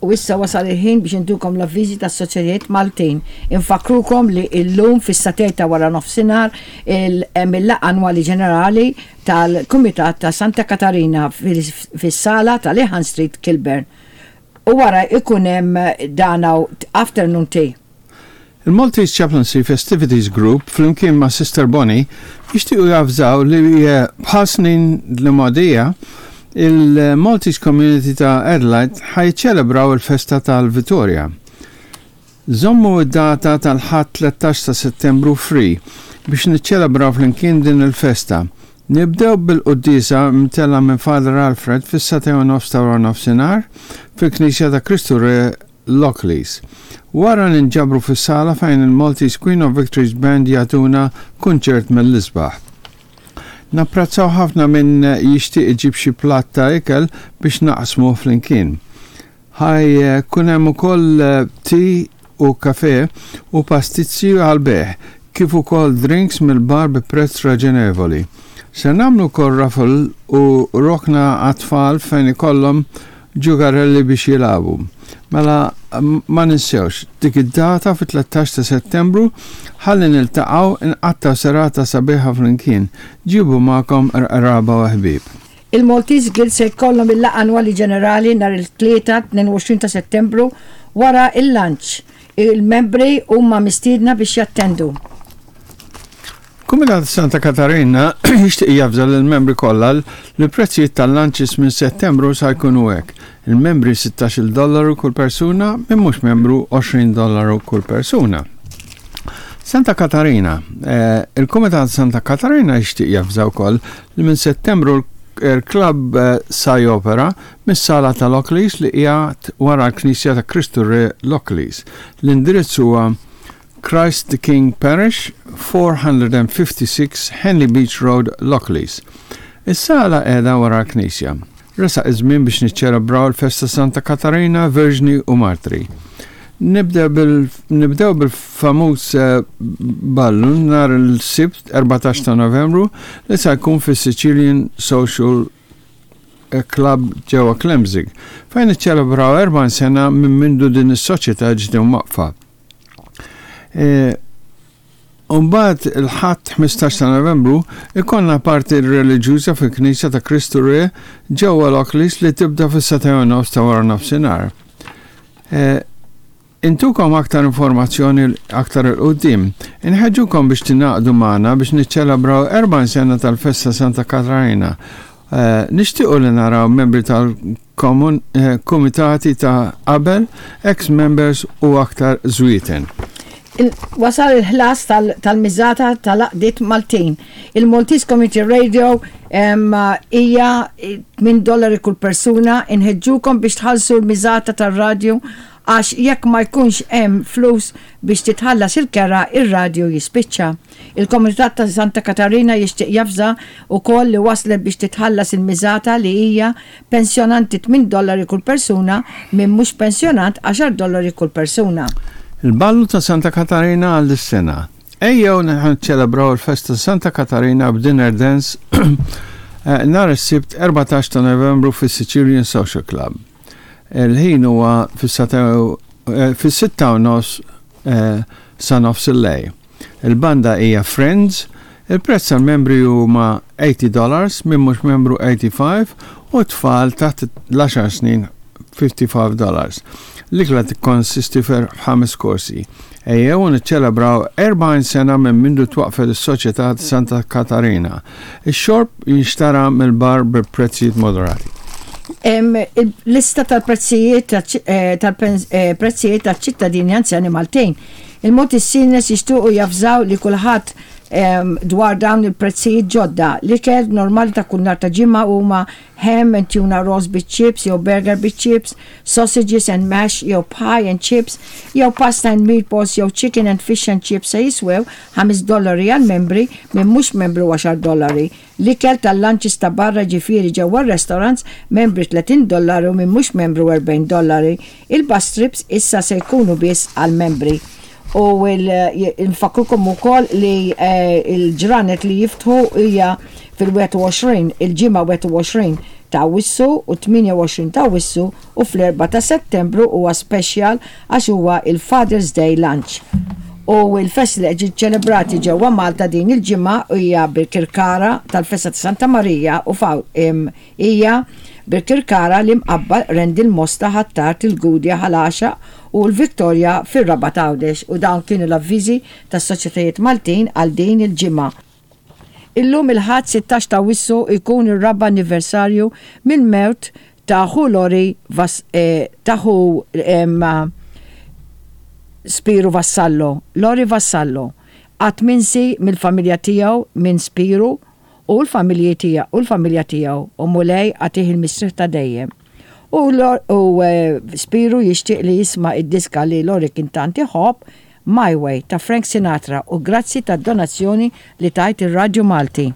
U issa wasal il-ħin biex intukom l-avviżi tas-soċjetajiet Maltin. Infakkrukom li illum fis-sagħtejn ta' wara nofsinhar hemm il-laqgħa annwali ġenerali tal-Kumitat ta' Santa Katarina fis-sala ta' Lehan Street, Kilburn. U wara jkun hemm dan afternoon tea. Il-Maltese Chaplaincy Festivities Group flimkien ma' Sister Bonnie jixtiequ javżaw li bħal snin l-imgħodija il-Maltese Community ta' Adelaide ħa jiċċelebraw il-festa tal-Vitorja. Żommu d-data tal-Ħadd 13 ta' Settembru free biex niċċelebraw flimkien din il-festa. Nibdew bil-quddiesa mtellgħa minn Father Alfred fis-sagħtejn u nofs ta' waranofsinhar fil-Knisja ta' Kristu Re Lockleys. Wara ninġabru fis-sala fejn il-Maltese Queen of Victories Band jagħtuna kunċert mill-isbaħ. Napprezzaw ħafna min jixtieq iġib xi platt ta' ikel biex naqsmuh flimkien. Ħa jkun hemm ukoll tea u kafè u pastizzi għall-bejgħ, kif ukoll drinks mill-bar bi prezz raġonevoli. Ser nagħmlu wkoll raffle u rokna għat-tfal fejn ikollhom ġugarelli biex jilagħbu. Mela ma ninsewx, dik id-data fit-13 ta' Settembru ħalli niltaqgħu nqattgħu serata sabiħa flimkien. Ġibu magħkom qraba u ħbieb. Il-Maltese Guild se jkollhom il-laqgħa annwali ġenerali nhar il-Tlieta 22 ta' Settembru wara l-lunch. Il-membri huma mistiedna biex jattendu. Kumitat Santa Katarina jixtieq javża lill-membri kollha li l-prezzijiet tal-lunches minn Settembru sa jkunu hekk. Il-membri 16-il dollaru kull persuna, min mhux membru 20 dollaru kull persuna. Santa Katarina, eh, il-Kumitat Santa Katarina jixtieq javża wkoll li minn Settembru l-klabb eh, sa jopera mis-sala ta' Lockleys li qiegħed wara l-Knisja ta' Kristu Re Lockleys. L-indirizz huwa Christ the King Parish, 456 Henley Beach Road, Lockleys. Is-sala qiegħda wara l-knisja. Resaq iż-żmien biex niċċelebraw il-festa Santa Katarina, Verġni u Martri. Nibdew bil-famuż eh, ballu nhar il-Sibt 14 ta' Novembru li se jkun fis-Sicilian Social Club ġewwa Klemzig, fejn iċċelebraw 40 sena minn mindu din is-soċjetà ġiet imwaqqfa. E, Umbagħad il-Ħadd 15 ta' Novembru ikollna parti reliġjuża fil-Knisja ta' Kristu Re ġewwa Lockleys li tibda fis-sagħtejn u nofs ta' wara nofsinhar. E, intukom aktar informazzjoni aktar 'il quddiem. Inħeġġukom biex tingħaqdu magħna biex niċċelebraw 40 sena tal-festa Santa Katarina. E, nixtiequ li naraw membri tal kumitati ta' qabel, ex-members u aktar żwieten. Wasal il-ħlas tal-miżata tal-għaqdiet Maltin. Il-Maltese Community Radio hija 8 dollari kull persuna, inħeġġukom biex tħallsu l-miżata tar-radju għax jekk ma jkunx hemm flus biex titħallas il-kera ir-radju jispiċċa. Il-Komunità ta' Santa Katarina jixtieq javża wkoll li waslet biex titħallas il-miżata li hija Pensjonanti tminn dollari kull persuna, min mhux pensjonant għaxar dollari kull persuna. Il-Ballu ta' Santa Katarina għal dis-sena. Ejjew niċċelebraw il-festa ta' Santa Katarina b'dinner dance nhar is-Sibt 14 ta' Novembru fis-Sicilian Social Club. Il-ħin huwa fis-sitta u nofs sa nofs il-lejl. Il-banda hija Friends, il-prezz għall-membri huma 80 dollars, min mhux membru 85 u t-tfal taħt l-għaxar snin 55 dollars. L-ikla tikkonsisti f'ħames korsi. Ejjew u niċċelebraw 40 sena minn mindu twaqqfet is-Soċjetà ta' Santa Katarina. Ix-xorb jinxtara mill-bar bi prezzijiet moderati. Lista tal-prezzijiet tal-prezzijiet taċ-ċittadini anzjani Maltin. Il-Maltese Seniors jixtiequ javżaw li kulħadd dwar dawn il-prezzijiet ġodda. L-ikel normali ta' kull nhar ta' Ġimgħa huma ham and tuna rolls biċ-chips jew burger biċ-chips, sausages and mash jew pie and chips, jew pasta and meatballs jew chicken and fish and chips se jiswew ħames dollari għall-membri, min mhux membru għaxar dollari. L-ikel tal-lunches ta' barra ġifieri ġewwa r-restaurants, membri 30 dollari u min mhux membru 40 dollari. Il-bus trips issa se jkunu biss għall-membri. U nfakkrukom ukoll li l-ġranet li jiftħu hija fil-21, il-Ġimgħa 21. ta' Awwissu u 28 ta' Awwissu u fl-4 ta' Settembru huwa special għax huwa il-Father's Day Lunch. U l-festi li qed ċelebrati ġewwa Malta din il-ġimgħa hija Birkirkara tal-Festa ta' Santa Marija u hija Birkirkara, l-Imqabba, Qrendi, l-Mosta, Ħ'Attard, il-Gudja, Ħal Għaxaq u l-Victoria fir-Rabat Għawdex u dawn kienu l-avviżi tas-Soċjetajiet Maltin għal din il-ġimgħa. Illum il-Ħadd 16 ta' Awwissu jkun ir-raba' anniversarju mill-mewt ta' ħu Lori ta' ħu Spiru Vassallo, Lori Vassallo, qatt minsi mill-familja tiegħu minn Spiru u l-familji tiegħu u l-familja tiegħu u Mulej agħtih il-mistrieħ ta' dejjem. U u Spiru jixtieq li jisma' id-diska li Lori kien tant iħobb My Way ta' Frank Sinatra u grazzi tad-donazzjoni li tajt ir-Radju Malti.